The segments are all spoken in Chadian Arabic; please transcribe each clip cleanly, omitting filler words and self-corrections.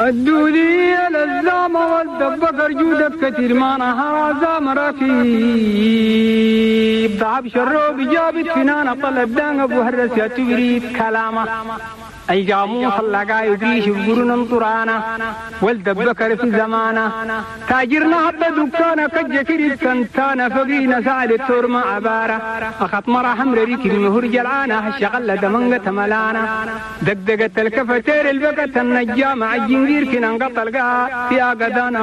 الدولية للزامة والدبكر جودك كتير ما نهار زام ركيب ضعب شروب جابت فنانة طلب دان أبو هرس يا تبريد كلامه أي جاموس اللقا يبريش بقرن طرانا والدبكر في زمانه تاجرنا حتى دكانة كجكري كنتانا فقينا سعد التور مع عبارة أخط مرة حمر ريك المهر جلعانة الشغلة دمنقة ملانا دقدقة الكفتير البقة النجام عجنجير كنا انقطع القاع في أقدانا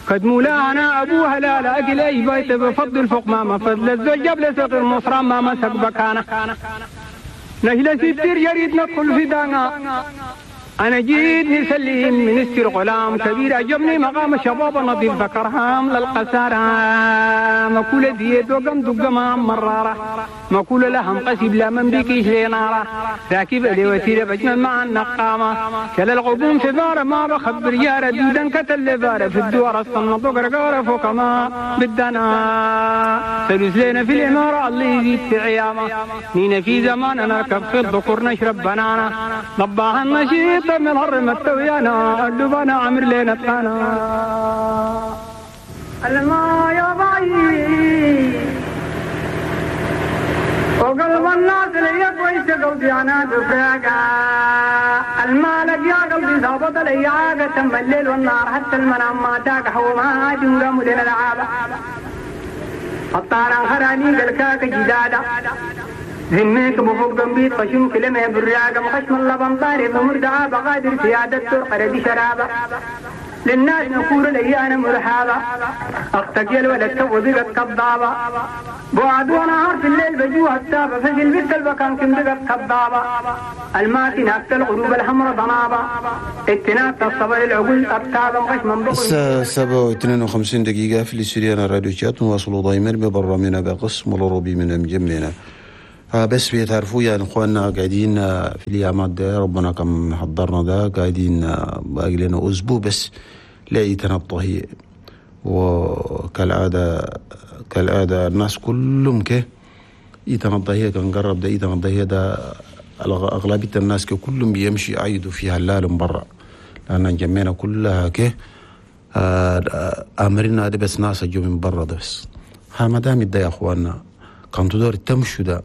قد مولانا أبوها لا لا أكل أي بيت بفضل فوق ما فضل الزوج قبل صغير مصرا ما مسك بكانا نهلا ستير يريد ندخل في دانا أنا جيت نسلم من استر غلام كبير عجبني مقام شباب نظيف ذكرهام للقسارة مكولة ديت وقم دقما مرارة مكولة لهم قسيب لا من بيكيش لنارة راكب لي وسيلة بجمل مع النقامة كل الغبون في بارة ما بخبر يارة دودا كتل بارة في الدوار الصنط وقرقارة فوق ما بدنا سلوس لنا في الإمارة الله يزيد في عيامة نينا في زماننا نركب في الذكور نشرب بنانا ضباها النشيط من الهر متويانا اللبانا عمر لنا تانا الما يا بعيد وقلب الناس لي كويس قلبي انا دفاقة المالك يا قلبي ظابط لي عاقة تم الليل والنهار حتى المنام ما تاك حوما جنقام لنا العابة الطاران خراني قلكاك جدادة ذميك بفوق قنبيت خشم كلمة براقة مخشم اللبن طاري بمردعة بقادر سيادة ترقر بشرابة للناس نقول لي أنا مرحابة أختك يا الولد تو بقت كضابة بعد ونهار في الليل بجوها التابة فجل بنت البكان كم بقت كضابة الماتي ناكت الغروب الحمر ضنابة اتناكت الصبر العقول أبتابة مخشم بقل. الساعة 7:52 دقيقة في الاستوديو راديو شات نواصلوا دايما ببرنامجنا بقسم الروبي من مجمعنا. بس بيتعرفوا يعني اخواننا قاعدين في الايامات ده ربنا كم حضرنا ده قاعدين باقي لنا اسبوع بس لعيتنا الطهي، وكالعاده كالعاده الناس كلهم كه ايتنا الضهيه كان قرب ده ايتنا الضهيه ده اغلبيه الناس كلهم بيمشي يعيدوا فيها هلال برا لان جمعنا كلها كه امرنا ده بس ناس جو من برا ده بس ها ما دام ده يا اخواننا كان تدور تمشوا ده